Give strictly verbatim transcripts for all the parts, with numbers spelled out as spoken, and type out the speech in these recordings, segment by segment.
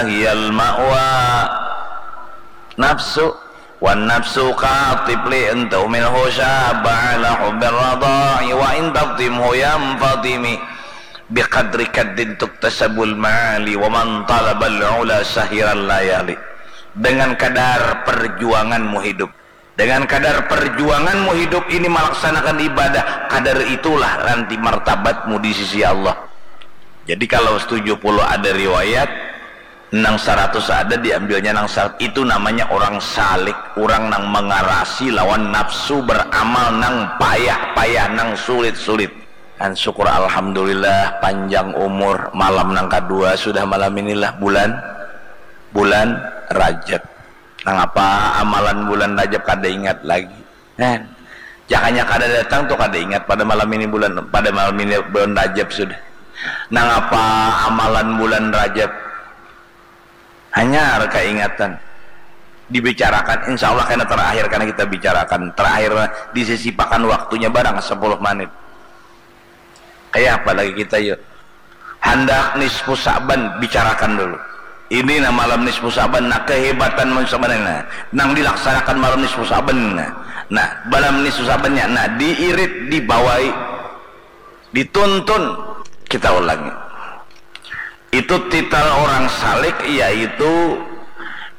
hiyal ma'wa. Nafsu. Wan nafsu katifli in tuhmilhu syabba ala hubbir radha'i wa in taftimhu yanfatimi. Biqadri kaddin tuktasabul ma'ali wa man talabal ula sahiran layali. Dengan kadar perjuanganmu hidup, dengan kadar perjuanganmu hidup ini melaksanakan ibadah, kadar itulah nanti martabatmu di sisi Allah. Jadi kalau tujuh puluh ada riwayat, nang saratus ada diambilnya nang saratus. Itu namanya orang salik, orang nang mengarasi lawan nafsu beramal nang payah-payah, nang sulit-sulit. Dan syukur alhamdulillah panjang umur, malam nang kadua sudah malam inilah bulan, bulan Rajab. Nangapa amalan bulan Rajab kada ingat lagi? Kan? Jakanya kada datang tuh kada ingat pada malam ini bulan, pada malam ini bulan Rajab sudah. Nangapa amalan bulan Rajab? Hanyar kaingatan. Dibicarakan, insya Allah kena terakhir karena kita bicarakan. Terakhir disisipakan waktunya barang sepuluh menit. Kayak apa lagi kita yuk? Handak nisfu Sa'ban, bicarakan dulu. Ini nah malam nisfu Sa'ban, nah kehebatan malam Sa'ban ini, nah, nang dilaksanakan malam nisfu Sa'ban, nah, nah malam nisfu Sa'bannya, nah diirit, dibawai, dituntun. Kita ulangi. Itu titel orang salik, yaitu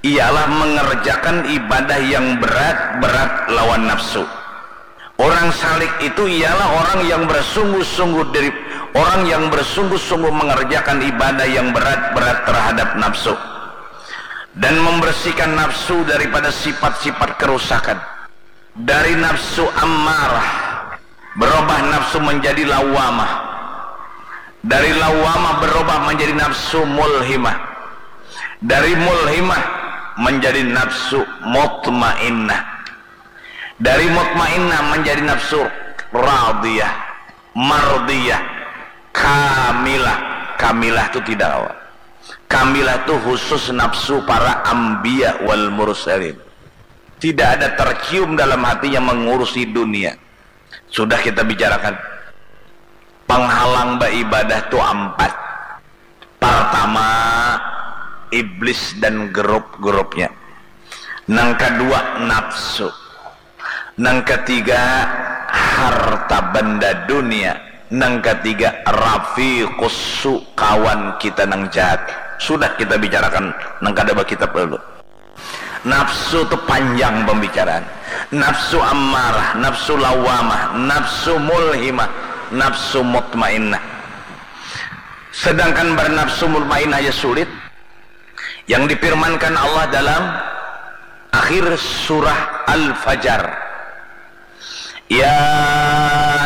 ialah mengerjakan ibadah yang berat, berat lawan nafsu. Orang salik itu ialah orang yang bersungguh-sungguh dari orang yang bersungguh-sungguh mengerjakan ibadah yang berat-berat terhadap nafsu dan membersihkan nafsu daripada sifat-sifat kerusakan. Dari nafsu ammarah berubah nafsu menjadi lawamah. Dari lawamah berubah menjadi nafsu mulhimah. Dari mulhimah menjadi nafsu mutmainnah. Dari mutmainnah menjadi nafsu radiyah, mardiyah, kamilah. Kamilah itu tidak awal. Kamilah itu khusus nafsu para anbiya wal mursalin. Tidak ada tercium dalam hatinya mengurusi dunia. Sudah kita bicarakan. Penghalang beribadah itu empat. Pertama, iblis dan grup-grupnya. Nang kedua, nafsu. Nang ketiga, harta benda dunia. Nang ketiga, rafiqus su, kawan kita nang jahat. Sudah kita bicarakan nang kada bakitab dulu. Nafsu tu panjang pembicaraan. Nafsu ammarah, nafsu lawamah, nafsu mulhimah, nafsu mutmainnah. Sedangkan bernafsu mutmainnah ya sulit. Yang difirmankan Allah dalam akhir surah Al-Fajar. Ya